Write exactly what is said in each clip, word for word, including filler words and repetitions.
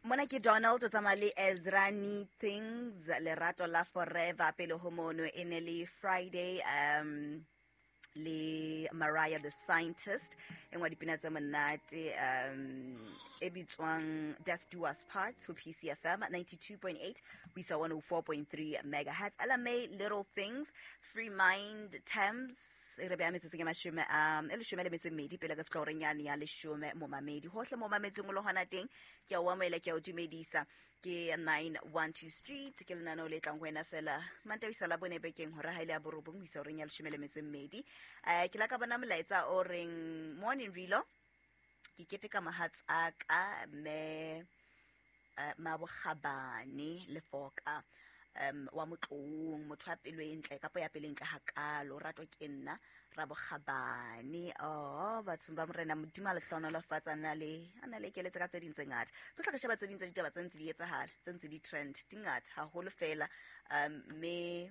Mona ke Donald o tsamaya le Ezrani Things, Lerato la Forever. Pele ho mono e ne le Friday um le Mariah the Scientist, e nngwe ya dipina tse monate um e bitswang Death Do Us Part, ho P C F M ninety-two point eight ho isa one oh four point three megahertz. Ella May, Little Things, Free Mind Thames. E re beha metsotso ke mashome um e leshome le metso e mmedi pele re fihla horeng yane ya leshome. Momamedi hohle mo mametseng o le hona teng, ke a o amohela, ke a o dumedisa. Ke nine one two Street, ke lenaneo le tlang ho wena fela Mantaha la bone bekeng, hora ha ile ya borobong ho isa horeng ya leshome le metso e mmedi. um ke la ka bona molaetsa o reng, "Morning Rilo, ke keteka mohatsaka mme uh, Mabokgabane Lefoka um wa Motloung, motho wa pelo e ntle kapa ya pelo e ntle hakalo, ratwa ke nna Rabokgabane." Oh, bathong ba Morena, Modimo a le hlohonolofatsa, a na le a na le ekeletse ka tse ding tse ngata. Tlo tla re sheba tse ding tsa ditaba tse ntse di etsahala, tse ntse di trend, di ngata haholo fela. um mme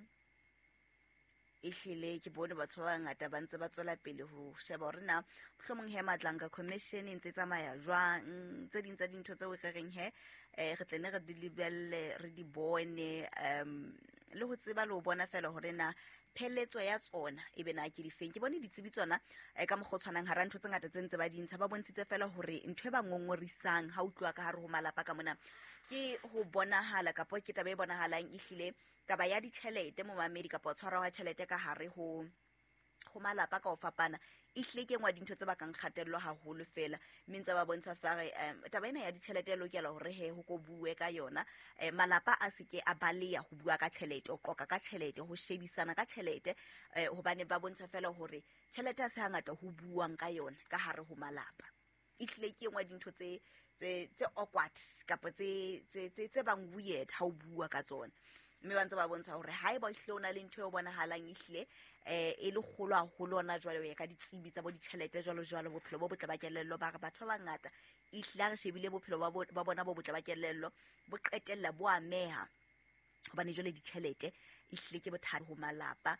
ehlile ke bone batho ba bangata ba ntse ba tswela pele ho sheba hore na mohlomong he Madlanga Commission e ntse e tsamaya jwang. Tse ding tsa dintho tseo re reng he um re tle ne re di lebelle, re di bone um le ho tseba le ho bona fela hore na pheletso ya tsona e be na ke difeng. Ke bone ditsebi tsona um ka mokgwa o tshwanang, hara ntho tse ngata tse ntse ba di ntsha, ba bontshitse fela hore ntho e ba ngongorisang ha utluwa ka hare ho malapa ka mona ke ho bonahala kapo ke taba e bonahalang ehlile taba ya ditjhelete, momamedi, kapa ho tshwarwa ha tjhelete ka hare ho ho malapa ka ho fapana. Ehlile ke engwe ya dintho tse bakang kgatello haholo fela, mme ntse ba bontsha fare um taba ena ya ditjhelete e lokela hore he ho ko bue ka yona. um malapa a se ke a baleya ho bua ka tjhelete, ho qoqa ka tjhelete, ho shebisana ka tjhelete, um hobane ba bontsha fela hore tjhelete ha se hangata ho buang ka yona ka hare ho malapa. Ehlile ke engwe ya dintho tse tse tse awkward kapa tse tse tse tse bang weird ha o bua ka tsona. Mme ba ntse ba bontsha hore haeba ehlile o na le ntho e bonahalang ehlile um e le kgolo haholo hona jwale, ho ya ka ditsebi tsa bo ditjhelete jwalo jwalo, bophelo bo botle ba kelello, ba re batho ba bangata ehlile ha re shebile bophelo ba bo- ba bona bo botle ba kelello bo qetella bo ameha, hobane jwale ditjhelete ehlile ke bothata ho malapa.